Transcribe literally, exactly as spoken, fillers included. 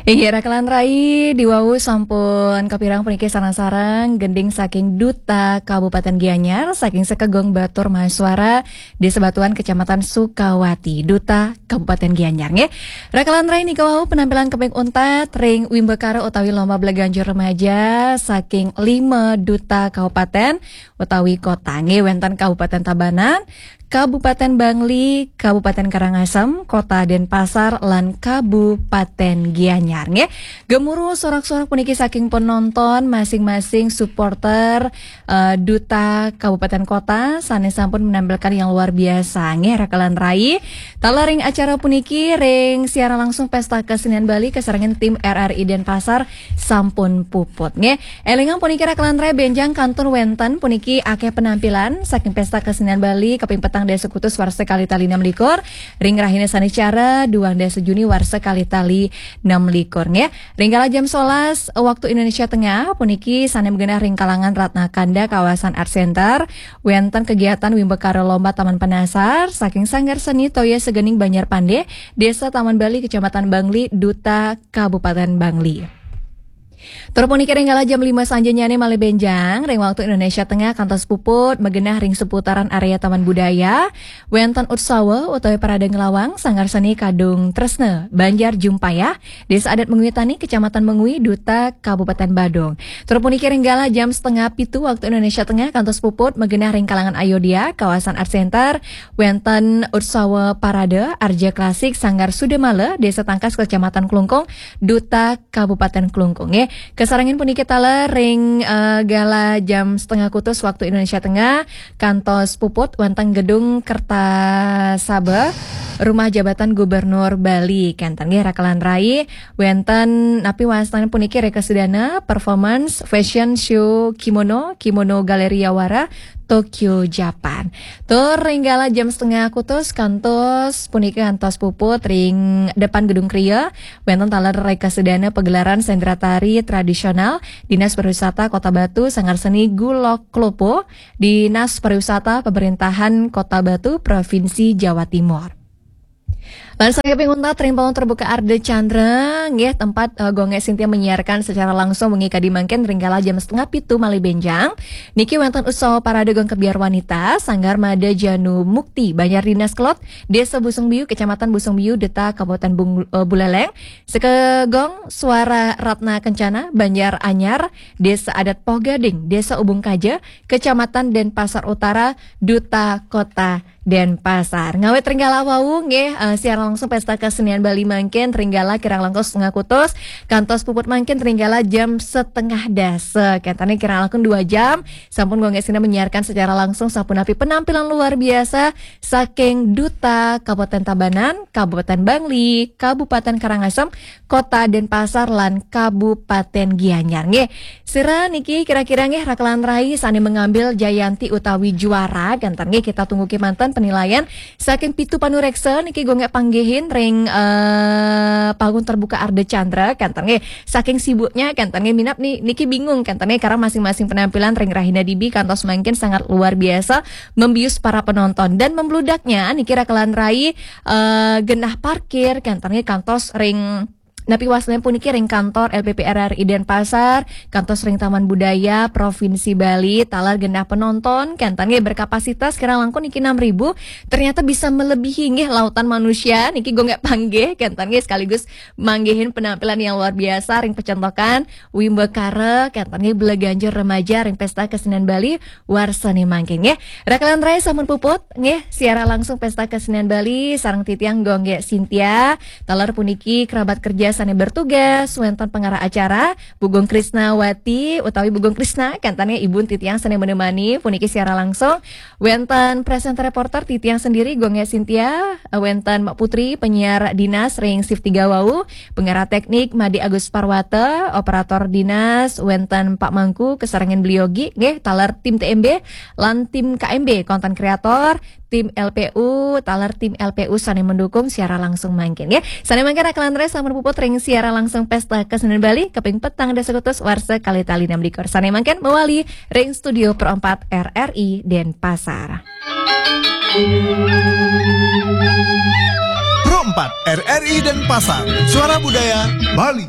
Inggih, rakelan rai, diwau sampun kapireng puniki sareng-sareng gending saking Duta Kabupaten Gianyar, saking Sekegong Batur Mahasuara, Desa Batuan, Kecamatan Sukawati, Duta Kabupaten Gianyar, nggih. Rakelan rai, nika wau penampilan keping untat ring Wimbakara utawi Lomba Belaganjur Remaja saking lima duta kabupaten utawi kota, nggih, wenten Kabupaten Tabanan, Kabupaten Bangli, Kabupaten Karangasem, Kota Denpasar, lan Kabupaten Gianyar, nggih. Gemuruh sorak-sorak puniki saking penonton, masing-masing supporter, eh, duta kabupaten kota sane sampun menampilkan yang luar biasa, nggih, rakelan rai. Taler ring acara puniki, ring siaran langsung Pesta Kesenian Bali, kasarengin tim R R I Denpasar sampun puput, nggih. Elingang puniki, rakelan rai, benjang kantun wenten puniki akeh penampilan saking Pesta Kesenian Bali kaping petang dasa Agustus warsa kalih tali enam likur, ring rahina Sanicara duang dasa Juni warsa kalih tali enam likur, nggih. Ring kala jam sebelas waktu Indonesia Tengah puniki sane magenah ring kalangan Ratna Kanda, kawasan Art Center, wenten kegiatan Wimbakara Lomba Taman Penasar saking Sanggar Seni Toya Segening Banjar Pande, Desa Taman Bali, Kecamatan Bangli, Duta Kabupaten Bangli. Tur puniki ring kala jam lima sanjenyane malih benjang, ring waktu Indonesia Tengah kantos puput, magenah ring seputaran area Taman Budaya, wenten utsawa utawi parade nglawang Sanggar Seni Kadung Tresna, Banjar Jumpayah, Desa Adat Mengwi Tani, Kecamatan Mengwi, Duta Kabupaten Badung. Tur puniki ring kala jam setengah pitu waktu Indonesia Tengah kantos puput, magenah ring kalangan Ayodhya, kawasan Art Center, wenten utsawa parade Arja Klasik Sanggar Sudamala, Desa Tangkas, Kecamatan Klungkung, Duta Kabupaten Klungkung, nggih. Kasarengin puniki taler ring, eh, kala jam setengah Agustus waktu Indonesia Tengah, kantos puput wenten Gedung Kertasaba, Rumah Jabatan Gubernur Bali, kenten, nggih, rakelan rai, wenten napi wastanin puniki rekasadana performance fashion show kimono, Kimono Galleria Wara, Tokyo, Japan. Tur ring kala jam setengah Agustus kantos puniki kantos puput ring depan Gedung Kria, wenten taler rekasadana pagelaran sendratari tradisional Dinas Pariwisata Kota Batu, Sanggar Seni Gulok Klopo, Dinas Pariwisata Pemerintahan Kota Batu, Provinsi Jawa Timur. Lan saking kaping untat ring pawon terbuka Arda Candra, nggih, tempat, eh, Gonge Sintia menyiarkan secara langsung wengi kadi mangkin ring kala jam setengah pitu malih benjang. Niki wenten utsawa parade Gong Kebyar Wanita, Sanggar Mada Janu Mukti, Banjar Dinas Kelod, Desa Busung Biu, Kecamatan Busung Biu, Duta Kabupaten Bung-, eh, Buleleng, Sekegong Suara Ratna Kencana, Banjar Anyar, Desa Adat Poh Gading, Desa Ubung Kaja, Kecamatan Denpasar Utara, Duta Kota Denpasar. Ngawit ring kala wau, nggih, eh, siaran langsung Pesta Kesenian Bali mangkin ring kala kirang langkung setengah Agustus, kantos puput mangkin ring kala jam setengah dasa. Kenten kirang langkung dua jam, sampun Gonge Sintia menyiarkan secara langsung sapunapi penampilan luar biasa saking Duta Kabupaten Tabanan, Kabupaten Bangli, Kabupaten Karangasem, Kota Denpasar, lan Kabupaten Gianyar, nggih. Sira niki kira-kira, nggih, rakelan rai sane mengambil jayanti utawi juara, kenten, nggih, kita tunggu kemanten penilaian saking pitu panureksa niki Gonge panggihin ring, eh, panggung terbuka Arda Candra, kenten, nggih. Saking sibuknya, kenten, nggih, minab ni-, niki bingung, kenten, nggih, karena masing-masing penampilan ring rahina dibi kantos mangkin sangat luar biasa membius para penonton. Dan membludaknya niki rakelan rai, eh, genah parkir, kenten, nggih, kantos ring napi wastanin puniki ring kantor L P P R R I Denpasar, kantos ring Taman Budaya Provinsi Bali, taler genah penonton, kenten, nggih, berkapasitas kirang langkung niki enam ribu, ternyata bisa melebihi, nggih, lautan manusia niki Gonge panggih, kenten, nggih, sekaligus manggihin penampilan yang luar biasa ring pecentokan Wimbakara, kenten, nggih, Belaganjur Remaja ring Pesta Kesenian Bali warsane mangkin, nggih. Rakelan rai sampun puput, nggih, siaran langsung Pesta Kesenian Bali sareng titiang Gonge Sintia. Taler puniki kerabat kerja sane bertugas, wenten pengarah acara, Bu Gung Krisnawati utawi Bu Gung Krisna, kenten, nggih, ibun titiang sane menemani puniki siaran langsung. Wenten presenter reporter titiang sendiri, Gonge Sintia, wenten Mak Putri, penyiar dinas ring shift tiga wau, pengarah teknik Made Agus Parwata, operator dinas, wenten Pak Mangku, kasarengin beliau gi, nggih, taler tim T M B, lan tim K M B, konten kreator, tim L P U, taler tim L P U sane mendukung siaran langsung mangkin, nggih. Sane mangkin rakelan rai sampun puput ring siaran langsung Pesta Kesenian Bali kaping petang dasa Agustus warsa kalih tali enam likur. Sane mangkin mawali ring studio Pro empat R R I Denpasar. Pro empat, R R I Denpasar, Suara Budaya Bali.